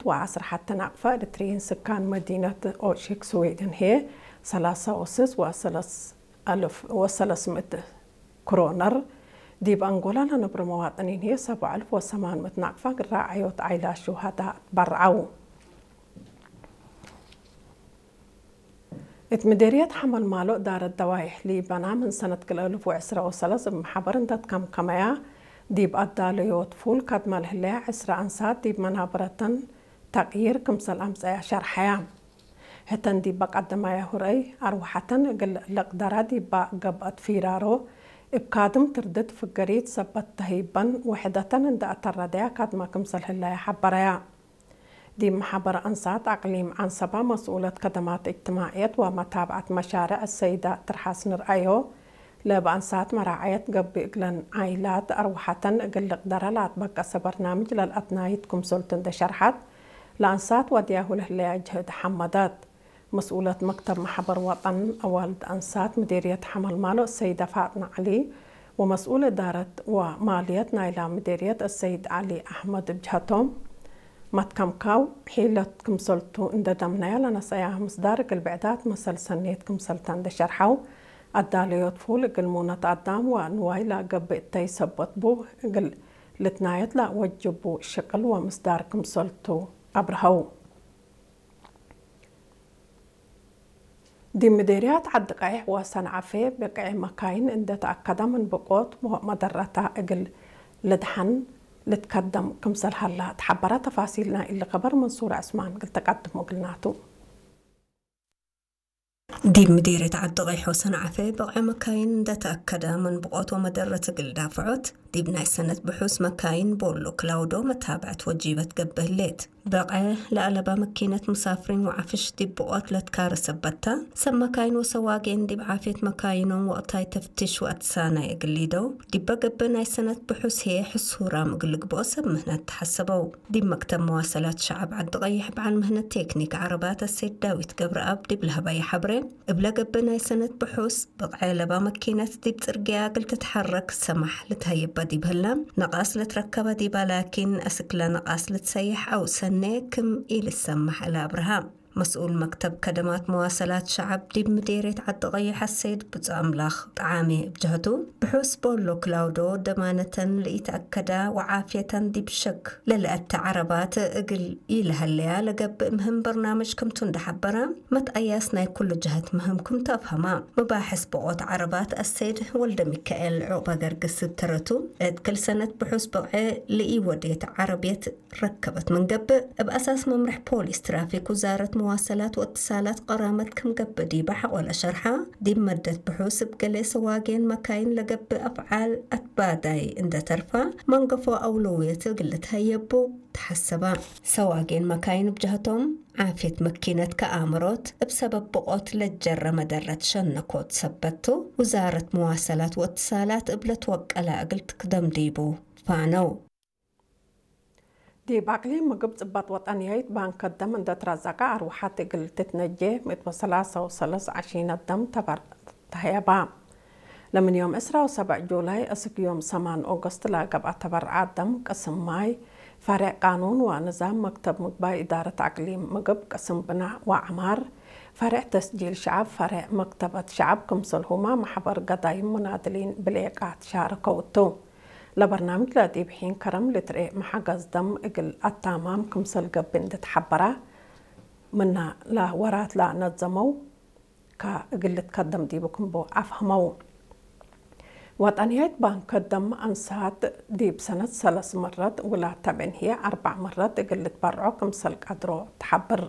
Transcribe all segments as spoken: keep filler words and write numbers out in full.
ወዐስር ሐተ ናቅፋ ኤሪትርይን ስካን መዲነት ኦሺክ ስዌድን ህዬ ሰላሳ ወስስ ወሰለስ አልፍ ወሰለስ ምእት ክሮነር፣ ዲብ አንጎላ ለነብሮ መዋጥኒን ህዬ ሰብዕ አልፍ ወሰማን ምእት ናቅፋ እግል ራዐዮት ዓይላት ሹሀዳእ ትበርዐው። እት ምዴርየት ሐመልማሎ እዳረት ደዋይሕ ሊበና ምን ሰነት ክልኤ አልፍ ወዕስራ ወሰለስ እብ መሐበር እንዴ ትከምከመያ፣ ዲብ አዳለዮት ፉል ከድመ ለህለያ ዕስራ አንሳት ዲብ መናብረተን ተቅዪር ክምሰል አምጸያ ሸርሐያ። ህተን ዲበ ቀደማያሁ ረአይ አርወሐተን እግል ልቅደራ ዲበ ገብአት ፊራሮ፣ እብ ካድም ትርድት ፍገሪት ሰበት ተህይበን ውሕደተን እንዴ አተረደያ ካድመ ክምሰል ህለያ ሐበረያ። ዲብ መሐበር አንሳት አቅሊም ዐንሰበ መስኡለት ከደማት እጅትማዕየት ወመታብዐት መሻርዕ ሰይደ ትርሐስ ንርአዮ፣ ለእብ አንሳት መራዐየት ገብእ እግለን ዓይላት አርወሐተን እግል ልቅደረ ለአትበገሰ በርናምጅ ለልአትናይት ክምሰልቱ እንዴ ሸርሐት፣ ለአንሳት ወድያሁ ለህለያ ጅህድ ሐመደት። መስኡለት መክተብ መሐበር ወጠን አዋልድ አንሳት ምዴርየት ሐመልማሎ ሰይደ ፋጥነ ዐሊ ወመስኡል እዳረት ወማልየት ናይላ ምዴርየት አሰይድ ዐሊ አሕመድ እብ ጀሀቶም፣ መትከምካው ሒለት ክምሰልቱ እንዴ ደምነያ ለነሰአያ ምስዳር እግል ብዕዳት መሰል ሰኔት ክምሰልተ እንዴ ሸርሐው፣ አዳለዮት ፉል እግል ሙነት አዳም ወንዋይ ለገብእ እተይ ሰበት ቡ እግል ልትናየት ለወጅቡ ሽቅል ወምስዳር ክምሰልቱ አብርሀው። ዲብ ምዴርያት ዐዲ ቀይሕ ወሰንዐፌ ብቅዔ መካይን እንዴ ተአከደ ምን ብቆት ወመደረተ እግል ልድሐን ልትከደም ክምሰል ሀላ ተሐበረ። ተፋሲል ናይ እሊ ከበር መንሱር ዕስማን እግል ተቀድሞ እግልናቱ። ዲብ ምዴርየት ዐዲ ቀይሕ ወሰንዐፌ ብቅዔ መካይን እንዴ ተአከደ ምን ብቆት ወመደረት እግል ዳፍዖት፣ ዲብ ናይ ሰነት ብሑስ መካይን ቦሎ ክላውዶ መታብዐት ወጂበት ገብእ ህሌት። በቅዐ ለአለበ መኪነት ሙሳፍሪን ወዐፍሽ ዲብ ብቆት ለትካረ ሰበት ተ፣ ሰብ መካይን ወሰዋጌን ዲብ ዓፍየት መካይኖም ወቅታይ ተፍቲሽ ወአትሳናይ እግል ሊደው፣ ዲበ ገብእ ናይ ሰነት ብሑስ ህዬ ሕሱራም እግል ልግብኦ ሰብ ምህነት ተሐሰበው። ዲብ መክተብ መዋሰላት ሸዐብ ዐዲ ቀይሕ በዐል ምህነት ቴክኒክ ዐረባት አሰይድ ዳዊት ገብረአብ ዲብ ለሀበየ ሐብሬ፣ እብለ ገብእ ናይ ሰነት ብሑስ፣ ብቅዐ ለባ መኪነት ዲብ ጽርግያ እግል ትትሐረክ ሰማሕ ልትሀየበ ዲብ ህለ፣ ነቃስ ልትረከበ ዲባ ላኪን፣ አስክለ ነቃስ ልትሰየሕ አው ሰኔ ክም ኢልትሰማሕ እለ አብርሃ። መስኡል መክተብ ከደማት መዋሰላት ሸዐብ ዲብ ምዴርየት ዐዲ ቀይሕ አሰይድ ብጹእ አምላክ ጠዓሜ እብ ጀህቱ፣ ብሑስ ቦሎ ክላውዶ ደማነተን ለኢተአከዳ ወዓፍየተን ዲብ ሸክ ለለአተ ዐረባት እግል ኢለሀለያ ለገብእ ምህም በርናምጅ ክምቱ እንዴ ሐበረ፣ መትአያስ ናይ ኩሉ ጀሀት ምህም ክምቱ አፍሀማ። መባሕስ ብቆት ዐረባት አሰይድ ወልደሚካኤል ዑቅበገርግስ እብ ተረቱ፣ እት ክል ሰነት ብሑስ ብቅዐ ለኢወዴት ዐረብየት ረከበት ምን ገብእ፣ እብ አሳስ መምርሕ ፖሊስ ትራፊክ ውዛረት መዋሰላት ወእትሳላት ቀራመት ክም ገብእ ዲበ ሐቆለ ሸርሐ፣ ዲብ መደት ብሑስ እብ ገሌ ሰዋጌን መካይን ለገብእ አፍዓል አትባዳይ እንዴ ተርፈ፣ መንገፎ አውለውየት እግል ልትሀየቡ ተሐሰበ። ሰዋጌን መካይን እብ ጀህቶም፣ ዓፍየት መኪነት ከአምሮት እብ ሰበብ ብቆት ለጀረ መደረት ሸነኮት ሰበት ቱ፣ ውዛረት መዋሰላት ወእትሳላት እብ ለትወቀለ እግል ትክደም ዲቡ ፋነው። ዲብ አቅሊም ምግብ ጽበጥ ወጠንያይት ባንክ ደም እንዴ ትረዘቀ አርወሐት እግል ትትነጄ ምእት ወሰላሳ ወሰለስ ዐሺነት ደም ተበር ተህየባ። ለምን ዮም ዕስራ ወሰብዕ ጁላይ እስክ ዮም ሰማን ኦገስት ለገብአ ተበርዐ ደም ቅስም ማይ፣ ፈሬዕ ቃኑን ወንዛም መክተብ ምግባይ እዳረት አቅሊም ምግብ ቅስም ብናእ ወዐማር፣ ፈሬዕ ተስጂል ሸዐብ፣ ፈሬዕ መክተበት ሸዐብ ክምሰልሁመ መሕበር ገዳይም ሙናድሊን ብሌቃት ሻረከው እቱ። ለበርናምጅ ለዲብ ሒን ከረም ልትርኤ መሐገዝ ደም እግል አታማም ክምሰል ገብእ እንዴ ተሐበረ፣ ምነ ለወራት ለነዘመው ከእግል ልትከደም ዲቡ ክም ቡ አፍሀመው። ወጠንያይት ባንክ ደም አንሳት ዲብ ሰነት ሰለስ መረት ውላድ ተብዕን ህዬ አርበዕ መረት እግል ልትበርዖ ክምሰል ቀድሮ ተሐብር።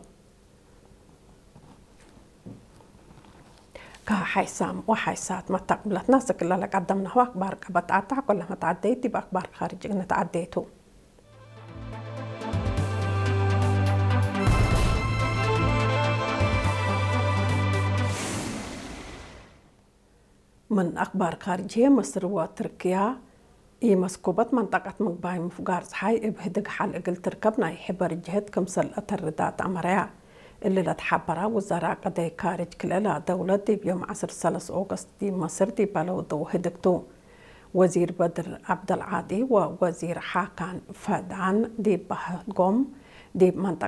ከሐይሳም ወሐይሳት መተቅብለትና ስክለ ለቀደምናሁ አክባር ቀበት አታ ኩለ መትዐደይት ዲብ አክባር ካርጅ እግል ንትዐደይ ቱ። ምን አክባር ካርጅ ህዬ፣ ምስር ወትርክያ ኢመስኩበት መንጠቀት ምግባይ ምፍጋር ጸሓይ እብ ህድግ ሐል እግል ትርከብ ናይ ሕበር ጅህድ ክምሰል ለአተርዳ ተአመረያ። እሊ ለተሐበራ ውዘራእ ቀደይ ካርጅ ክልኤ ለደውለት ዲብ ዮም ዐስር ሰለስ ኦገስት ዲብ መስር ዲብ በለው ደው ህድግ ቱ። ወዚር በድር ዐብደልዓጢ ወወዚር ሓካን ፈድዓን ዲብ በህጎም፣ ዲብ መንጠቀት